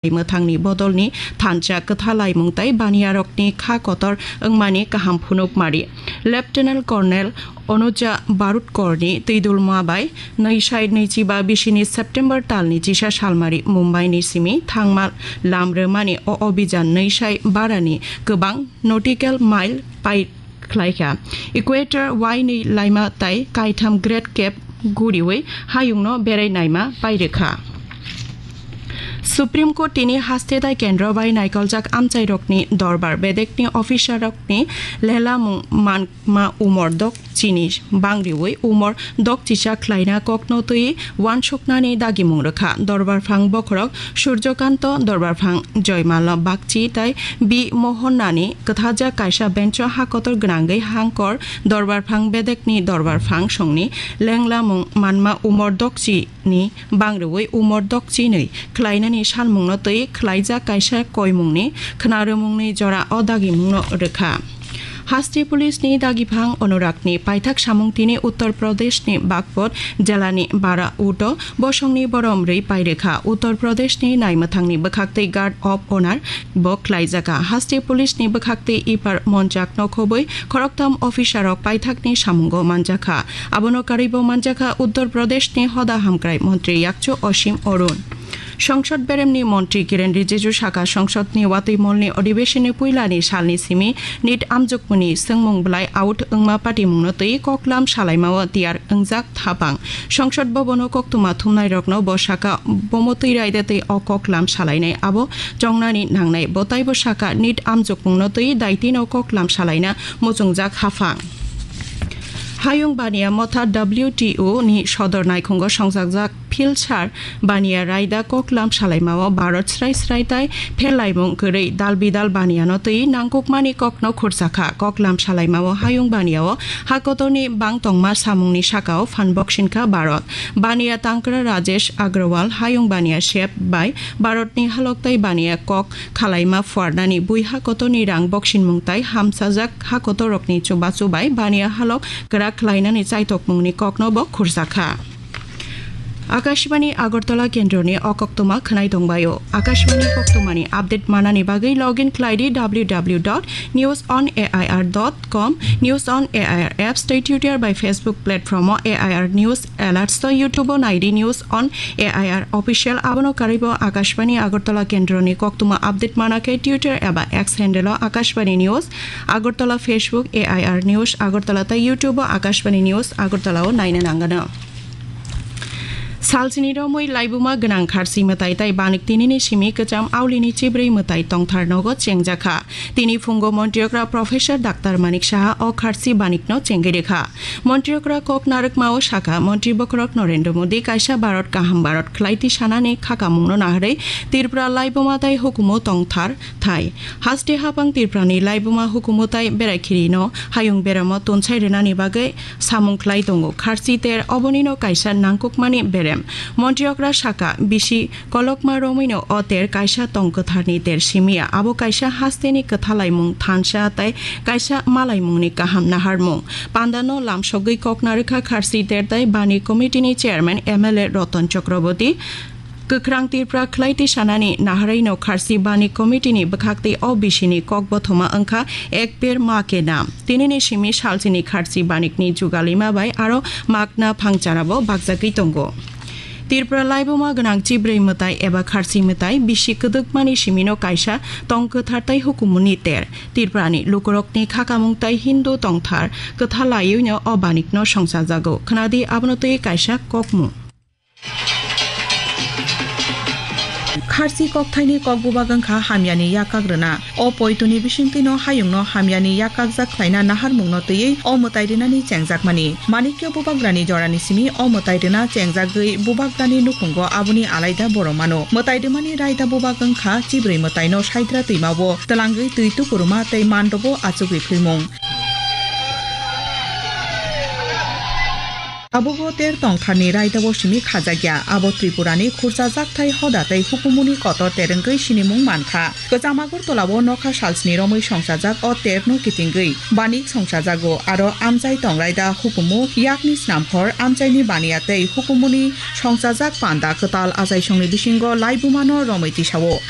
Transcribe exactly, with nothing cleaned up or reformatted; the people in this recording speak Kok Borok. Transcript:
mwthangni bodolni thansa kwthalaimung tei baniyarokni kha kotor wngmani kaham phunukmari. Lieutenant Colonel Onuja Barut Korni twidulma bai nwi sai nwichiba bisini September talni chisa salmari Mumbai ni simi thangma lam rwmani o obijan nwi sai barani kwbang nautical mile pai khlaikha. Equator wainwi laima tai kaitham Great Cape guriwi hayungno berai naima pairikha. Supreme Court tini haste tai kendro bai naikoljak amchairokni dorbar bedekni officerrokni lelamung manma umor dok chini bangriwi umor dok chisa khlaina kokno twi wansuknani dagimung rwkha. Dorbarphang bokhorok Surjokanto, Dorbarphang Joymala Bakchi tai B Mohonnani kwthajak kaisa bencho ha kotor gwnangwi hangkor Dorbarphang bedekni Dorbarphang songni lenglamung manma umor dokchi ni bangriwi umor dokchinwi khlainani salmungno twi khlaijak kaisa koimungni khwnarwmungni jora o dagimungno rwkha. Haste police ni dagiphang Onurakni paithak samung tini Uttar Pradesh ni Bagpot jelani Bara Uto bosongni borom rwi pairikha. Uttar Pradesh ni naimwthangni bwkhaktwi Guard of Honor bo khlaijakha. Haste police ni bwkhaktwi ipar monchak nokhobwi khoroktham officer rok paithakni samungo manjakha. Abono karwibo manjakha Uttar Pradesh ni hoda hamkrai montri yakchu Osim Arun. Songsod beremni montri Kiren Rijiju saka songsodni watwi molni odhibeshonni puilani salni simi nit amjukmuni swngmung belai out wngma patimungno twi koklam salaimao tiyar wngjak thapang. Songsod bobono koktwma thumnairokno bo saka bomo twi raida tei o koklam salainai abo chongnani nangnai. Bo taibo saka nit amjukmungno twi daitino koklam salaina muchungjak haphang. Hayung Baniya Motha W T O ni sodor naikhungo songjakjak Philsar Baniya raida koklam salaimao Bharat srai srai tai pherlaimung kwrwi dal bidal Baniyano twi nangkukmani kokno khurjakha. Koklam salaimao Hayung Baniyao hakotorni bang tongma samungni sakao phan boksinkha Bharat. Baniya tangkra Rajesh Agrawal Hayung Baniya sep bai Bharatni halok tai Baniya kok khalaima phuarnani bui hakotorni rang boksinmung tai hamsajak hakotorrokni chubachu bai Baniya halok kwrak khlainani chaitokmungni kokno bo khurjakha. Akashbani Agartala kendroni o koktwma khwnai tongbaio. Akashbani koktwmani update manani bagwi login khlai di W W W dot news on A I R dot com, News on A I R apps tei Twitter bai Facebook platform o A I R News alerts tei YouTube o nai di News on A I R official. Abono karwibo Akashbani Agartala kendroni koktwma update mana khe Twitter eba X handle o Akashbani News Agartala, Facebook A I R News Agartala tei YouTube o Akashbani News Agartala o naina nangano. Salchini romwi laibuma gwnang kharsi mwtai tai banik tinini simi kwcham aulini chibrwi mwtai tongthar nogo chengjakha. Tini phungo Montri okra Professor Doctor Manik Saha o kharsi banikno chengwi rwkha. Montri okra kok narwkmao sakha, Montri bokhorok Narendra Modi kaisa Bharat kaham Bharat khlai twi sanani khakamungno naharwi Tripura laibuma tai hukumu tongthar thai. Haste hapang Tripurani laibuma hukumu tai berai khirino hayung beramo tunsai rwnani bagwi samung khlai tongo. Kharsi ter obonino kaisa nangkukmani berem. Montri okra sakha, bisi kolokma romwino o ter kaisa tong kwtharni ter simiya. Abo kaisa hasteni kwthalaimung thansa tai kaisa malaimungni kaham naharmung. Pandano lamsogwi kok narwkha kharsi ter tai bani committee ni chairman M L A Ratan Chakraborty. Kwkhrang Tripura khlai twi sanani naharwino kharsi bani committee ni bwkhak tei o bisini kok bothoma wngkha Ek Ped Maa Ke Naam. Tinini simi salchini kharsi banikni jugalima bai aro magna phangcharabo bakjagwi tongo. Tripura laibuma gwnang chibrwi mwtai eba kharsi mwtai bisi kwdwkmani simino kaisa tong kwthar tai hukumuni ter. Tripurani lukurokni khakamung tai Hindu tongthar kwtha laiwino o banikno songchajago. Khwnadi abono twi kaisa kokmung. Kharsi kokthaini kok bubak wngkha hamyani yakak rwna. O poitoni bisingtwino hayungno hamyani yakakjak khlaina naharmungno twiwi o mwtai rwnani chengjakmani. Manikya bubagrani jorani simi o mwtai rwna chengjagwi bubagrani nukhungo aboni alaida borok mano. Mwtai rwmani raida bubak wngkha chibrwi mwtaino saidra twimao twlangwi twi tukuruma tei mandobo achugwi philmung. Abogo ter tongtharni raidao simi khajakya, abo Tripurani khurchajakthai hoda tei hukumuni kotor terengwi sinimung mankha. Kwcham Agartala-o nokha salsni romwi songchajak o terno kitingwi banik songchajago, aro amchai tong raida hukumu yakni snamkhor amchaini baniya tei hukumuni songchajak panda kwtal achaisongni bisingo laibumano romwi tisao.